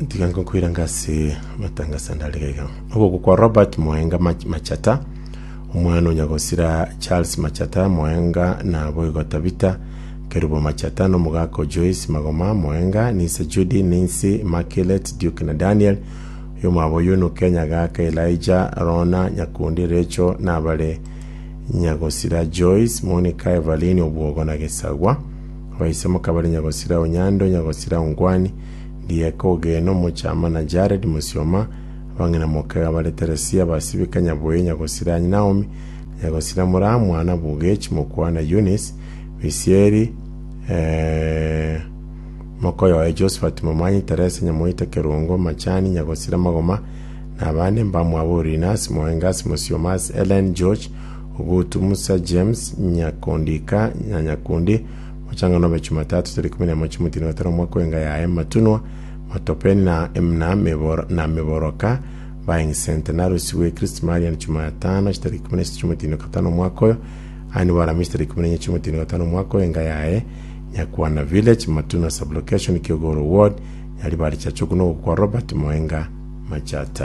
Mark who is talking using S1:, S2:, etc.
S1: Tiga nkokoiranga ase amatangaso ande are iga. Ogokwa kwa Robert Moenga Mach- Machata, omwana o nyagosira Charles Machata Moenga na boigo Tabitha Kerubo Machata na omogaka o Joyce Magoma Moenga, Nise Judy, Nancy, Immaculate, Duke na Daniel, oyomwabo Yunuke, Nyagaka, Elijah, Rona, Nyakundi, Rachel na abare nyagosira Joyce, Monica, Evaline, Obwogo na Gesagwa. Abaise mokabare nyagosira Onyando, nyagosira Ongwani, Ndieka Ogeno, Mochama na Jared Mosioma, abang'ina mokega bare Teresia, Basibika, Nyaboe, nyagosira Naomi, nyagosira Moraa, mwana Bugech, mokwana Eunice, Bisieri, eh, mokoyoe Josephat Momanyi, Teresa Nyamoita, Kerongo, Machani, nyagosira Magoma, na abande mbamwabo Urinas, Moengas, Mosiomas, Ellen, George, Ogutu, Musa, James, Nyakondika, na Nyakundi, Mochang'ano obe Chumatatu tariki 11 chimotino gatano omwaka oenga yaye Matunwa, Matopeni na na meboro na Meboroka Buying Center narusigwe Christ Marian Chumatano chitariki 16 chimotino gatano omwaka oyo Anne Waramisi tariki 14 chimotino gatano omwaka oyo enga yaye Nyakwana Village Matunwa Sublocation Kiogoro Ward Nyaribari Chachuku nogokwa Robert Moenga Machata.